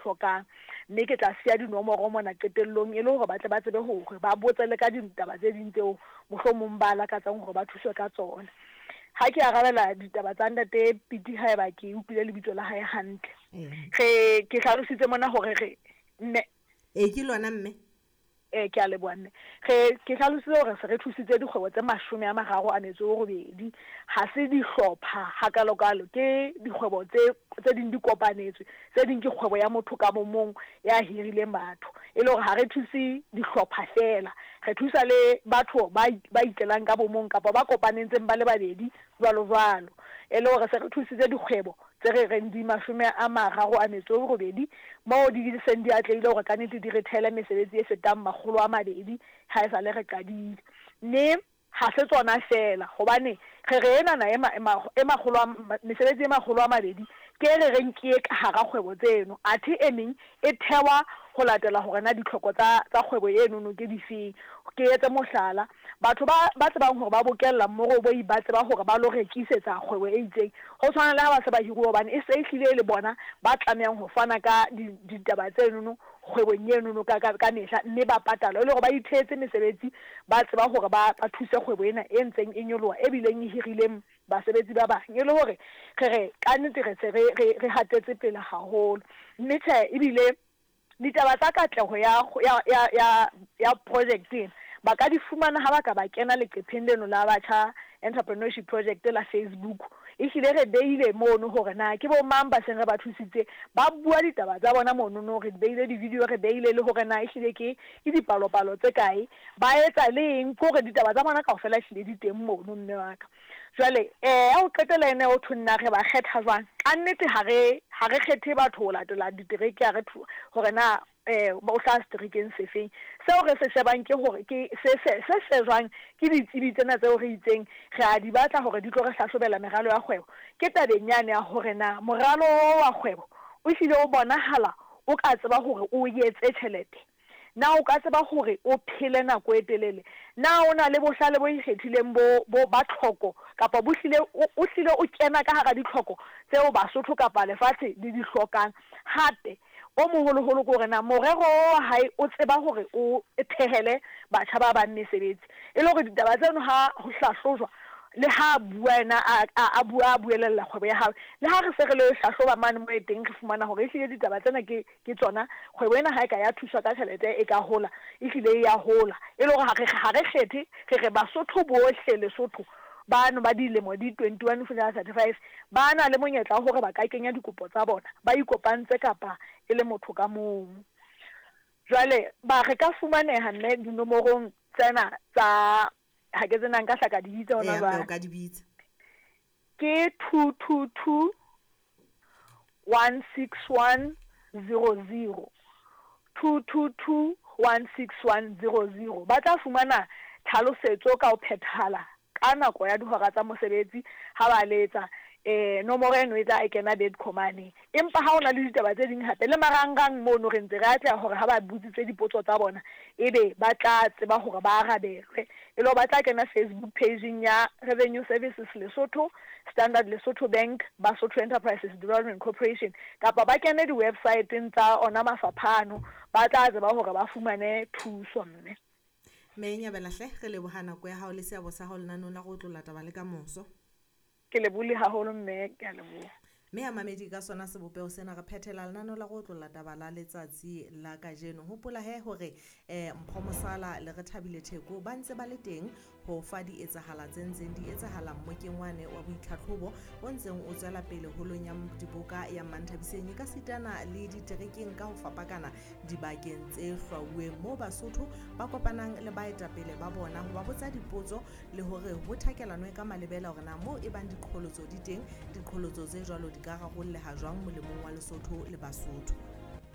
hlokang. Mme ke tla siya dinomoro mona qetellong e le hore ba tle ba tsebe hore ba botse le ka ditaba tse ding tseo mohlomong ba lakatsang hore ba thuswe ka tsona. Ha ke arabela ditaba tsa ntate Piti haeba ke utlwile lebitso la hae hantle. Re ke hlalositse mona hore re mme. Ee, ke lona mme. Ee, ke a leboha mme. Re ke hlalositse hore se re thusitse dikgwebo tse 38. Ha se dihlopha hakalokalo, ke dikgwebo tse tse ding di kopanetswe, tse ding ke kgwebo ya motho ka bo mong ya hirileng batho. E le hore ha re thuse dihlopha feela, re thusa le batho ba ba itlelang ka bo mong kapa ba kopanetseng ba le babedi jwalo jwalo. E le hore se re thusitse dikgwebo tse re reng di 38 moo di seng di atlehile hore kannete di re thehele mesebetsi e fetang 200 ha e sa le re qadile. Mme ha se tsona feela, hobane re re enana e e makgolo a mesebetsi e 200 ke e re reng ke e ka hara kgwebo tseno, athe e meng e thewa ho latela hore na ditlhoko tsa tsa kgwebo enono ke difeng. Ke etse mohlala, batho ba ba tsebang hore ba bokella mmoroboi ba tseba hore ba lo rekisetsa kgwebo e itseng, ho tshwana le ha ba se ba hiruwa hobane e se e hlile e le bona ba tlamehang ho fana ka ditaba tsenono kgwebong enono ka ka ka mehla mme ba patalwa e le hore ba ithehetse mesebetsi, ba tseba hore ba ba thuse kgwebo ena e ntseng e nyoloha e bileng e hirileng basebetsi ba bang e le hore re re kannete re se re re re hatetse pele haholo. Mme tjhe ebile ditaba tsa katleho ya ya ya ya ya project ena ba ka di fumana ha ba ka ba kena leqepheng leno la Batjha Entrepreneurship Project la Facebook. Ehlile re beile mono hore na ke bo mang ba seng re ba thusitse, ba bua ditaba tsa bona monono, re beile di-video, re beile le hore na ehlile ke ke dipalopalo tse kae, ba etsa le eng, ke hore ditaba tsa bona kaofela ehlile di teng mono mme wa ka. Jwale ya ho qetela ena ho thweng na re ba kgetha jwang, kannete ha re ha re kgethe batho ho latela ditereke, ha re hore na o hlaha seterekeng sefeng. Seo re se shebang ke hore ke se se se shejwang ke ditsebi tsena tseo re itseng re a di batla hore di tlo re hlahlobela meralo ya kgwebo, ke tabeng yane ya hore na moralo oo wa kgwebo o hlile o bonahala o ka tseba hore o etse tjhelete. Na o ka tseba hore o phele nako e telele? Na o na le bohlale bo ikgethileng bo, bo, ba tlhoko, kapa bo hlile, o, o hlile o kena ka hara ditlhoko tseo Basotho kapa lefatshe le di hlokang? Hape, o moholoholo ke hore na morero wa hae o tseba hore o thehele batjha ba bang mesebetsi. E le hore ditaba tseno ha ho hlahlojwa, le ha a bua yena a, a, a bua a buelella kgwebo ya hae, le ha re se re lo e hlahloba mane moo e teng re fumana hore ehlile ditaba tsena ke, Ke tsona. Kgwebo ena ha e ka ya thuswa ka tjhelete e ka hola, ehlile e ya hola. E le hore ha re, ha re kgethe, re re Basotho bohle Lesotho bano ba dilemo di 21 ho fihlela 35 ba na le monyetla wa hore ba ka kenya dikopo tsa bona ba ikopantse kapa e le motho ka mong. Jwale ba re ka fumaneha mme dinomorong tsena tsa, ha ke tsebe na nka hla ka di bitsa hona Eya, mme o jwale. ka di bitsa. Ke 222 161 00, 222 161 00. Ba tla fumana tlhalosetso ka ho phethahala ka nako ya dihora tsa mosebetsi ha ba letsa. Nomoro eno e tla e kena Bedco mane. Empa ha ho na le ditaba tse ding hape le marangrang mono re ntse re atleha hore ha ba botsitse dipotso tsa bona ebe ba tla tseba hore ba arabelwe. E le hore ba tla kena Facebook page-ing ya Revenue Services Lesotho, Standard Lesotho Bank, Basotho Enterprises Development Corporation kapa ba kene di-website-eng tsa ona mafapha ano, ba tla tseba hore ba fumane thuso mme. Mme Nyabela hle, re leboha nako ya hao le seabo sa hao lenaneong la go otlolla taba le ka moso. Ke lebohile haholo mme, ke a leboha. Mme ya mamedi ka sona sebopeho sena re phethela lenaneo la go otlolla taba la letsatsi la kajeno. Hopola he hore Mpho Mosala le Rethabile Theko ba ntse ba le teng ho fa di etsahala tse ntseng di etsahala mmokeng wane wa boitlhatlhobo o ntseng o tswela pele holong ya diboka ya Manthabiseng e ka sitana le diterekeng ka ho fapakana dibakeng tse hlwauweng moo Basotho ba kopanang le baetapele ba bona ho ba botsa dipotso le hore ho thakelanwe ka malebela hore na moo e bang diqholotso di teng, diqholotso tse jwalo di ka rarolleha jwang molemong wa Lesotho le Basotho.